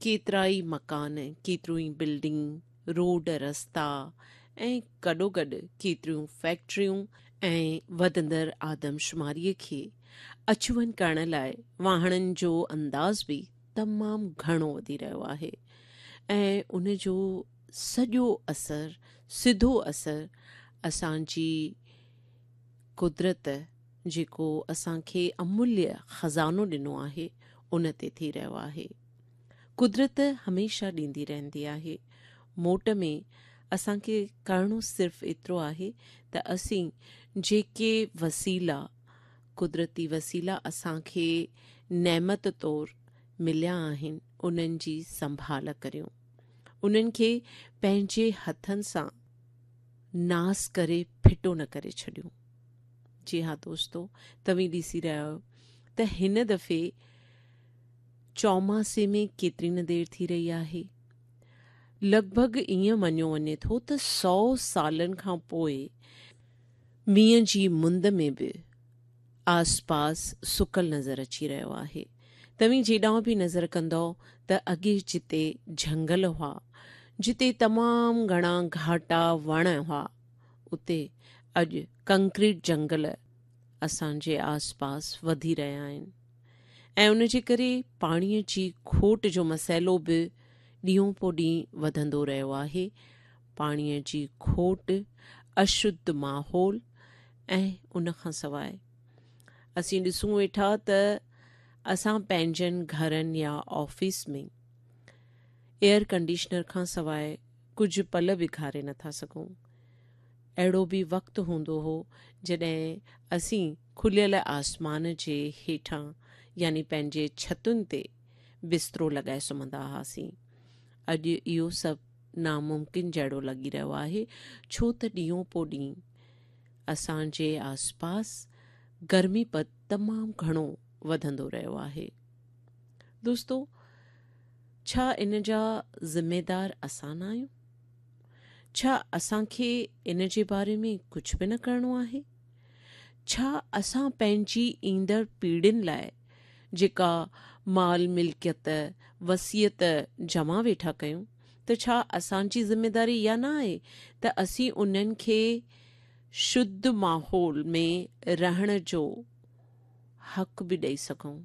ڪيترائي مڪان، ڪيتريون ئي بلڊنگ، روڊ رستا ۽ گڏوگڏ ڪيتريون فيڪٽريون ۽ وڌندڙ آدمشماريء کي اچ وڃ ڪرڻ لاء واهڻن جو انداز به تمام گهڻو وڌي رهيو آهي ۽ ان جو سڄو اثر، سڌو اثر اسان جي قدرت جيڪو اسان کي اموليه خزانو ڏنو آهي ان تي ٿي رهيو آهي. قدرت هميشه ڏيندي رهندي آهي. موٽ ۾ اسان کي ڪرڻو صرف ايترو آهي ته اسين جيڪي وسيلا، قدرتي وسيلا اسان کي نعمت طور مليا آهن انهن جي سنڀال ڪريون. انهن کي پنهنجي هٿن سان ناس ڪري ڦٽو نه ڪري ڇڏيون. جي ها دوستو توهين ڏسي رهيا آهيو ته هن دفعي چوماسي ۾ ڪيتري نه دير ٿي رهي آهي. لڳ ڀڳ ائين مڃيو وڃي ٿو ته سئو سالن کان پوء مينهن جي مند ۾ به آس پاس سڪل نظر اچي رهيو آهي. توهين جيڏانهن به نظر ڪندؤ ته اڳي جتي جهنگل هئا، جتي تمام گهڻا گهاٽا وڻ هئا، اتي اڄ ڪنڪريٽ جهنگل اسان جي آس پاس وڌي رهيا آهن ۽ ان جي ڪري پاڻي جي کوٽ جو مسئلو به ڏينهون پو ڏينهن وڌندو رهيو آهي. پاڻي جي کوٽ، اشڌ ماحول ۽ ان کان سواء اسين ڏسون ويٺا ته اسان پنهنجن گهرن يا آفيس ۾ ايئر ڪنڊيشنر کان سواء ڪجهه پل به گهاري نٿا سگهون. اهڙو به وقت هوندو هو جڏهن اسين کليل آسمان جي هيٺان يعني پنهنجي ڇتن تي بسترو لڳائي سمهندا هئاسين. اڄ اهو سڀ ناممڪن جهڙو لڳي رهيو آهي ڇو ته ڏينهون پو ڏينهن اسان جي آسپاس گرمي پد تمام گهڻو وڌندو رهيو آهي. دوستو ڇا ان جا ذميدار اسان نه آهيون؟ ڇا اسان کي ان جي باري ۾ ڪجهه به نه ڪرڻو آهي؟ ڇا اسان پنهنجي ايندڙ پيڙهين لاء جيڪا مال ملڪيت، وصيت جمع ويٺا ڪيون ته ڇا اسان جي ذميداري اها نه آهي ته اسين انهن کي شڌ ماحول ۾ رهڻ جو حق به ڏئي سگهون؟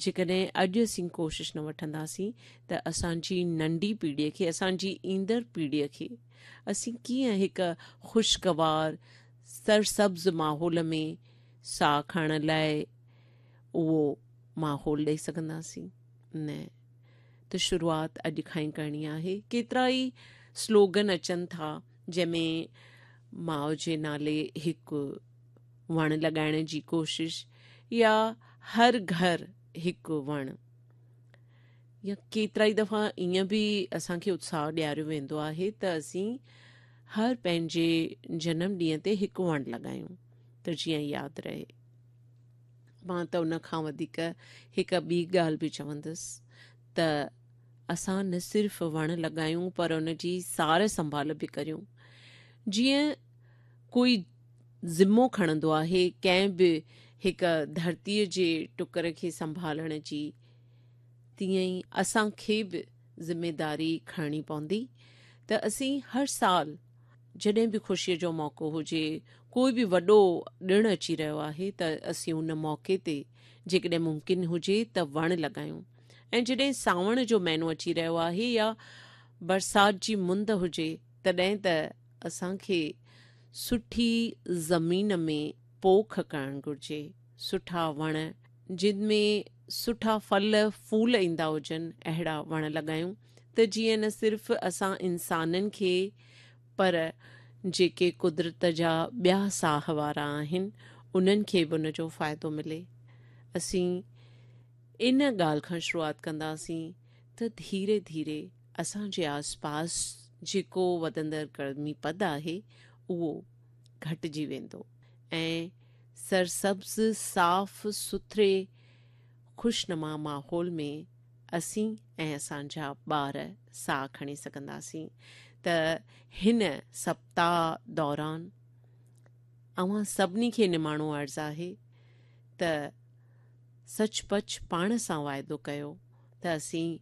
جيڪڏهن اڄ اسين ڪوشش نه وٺنداسين ته اسان جي ننڍي پيڙهيء کي، اسان جي ايندڙ پيڙهيء کي اسين ڪيئن هڪ خوشگوار سرسبز ماحول ۾ ساهه کڻڻ لاء اهو ماحول ڏئي سگهنداسين؟ نه ته شروعات اڄ کان ئي ڪرڻي آهي. ڪيترا ئي سلوگن اچن ٿا جنهن ۾ ماء جي نالي هڪ وڻ لڳائڻ جي ڪوشش يا هر گهر هڪ وڻ يا ڪيترائي دفعا ائين به اسان کي اتساهه ڏياريو ويندو آهي ته اسين هر پنهنجي جنم ڏينهن تي هڪ وڻ لڳايون ته جيئن ياد رهي. مان ته ان کان وڌيڪ هڪ ٻي ڳالهه به چوندس ته اسان نه صرف وڻ لڳايون پر ان جي سار سنڀال به ڪريون جيئن ڪوئي ذمو کڻندو آهي ڪنهن به هڪ ڌرتيء جي ٽڪر کي سنڀالڻ جي تيئن ئي اسان کي به ذميداري کڻڻي پوندي ته اسين هر سال جڏهن به خوشيء جو موقعو هجي، ڪوئي به وڏو ڏڻ اچي رهيو آهي ته اسين ان موقعي تي جيڪڏهن ممڪن هجي ته وڻ لڳايون ۽ جڏهن سانوڻ جو مهينو اچي رهيو آهي يا برسات جي مند هجي تڏهن ته اسان کي سٺي زمين ۾ پوک ڪرڻ گهرجي، سٺا وڻ جن ۾ سٺا ڦل ڦول ايندا هجن اهڙا وڻ لڳايون ته جيئن نه صرف اسان انسانن کي پر جيڪي قدرت جا ٻيا ساهه وارا آهن انهن کي به ان جو فائدو ملي. اسين ان ڳالهه کان شروعات ڪنداسين ته ڌيري ڌيري اسان جي آس پاس جيڪو وڌندڙ گرمي پد آهي اهو گهٽجي ويندو ۽ سرسبز صاف سٿري خوشنما ماحول ۾ اسين ۽ اسان جا ٻار ساهه کڻي سگهنداسين ته هن سپتاهه دوران اوهان سڀني کي نماڻو عرض آهي ته سچ پچ پاڻ سان واعدو ڪيو ته اسين.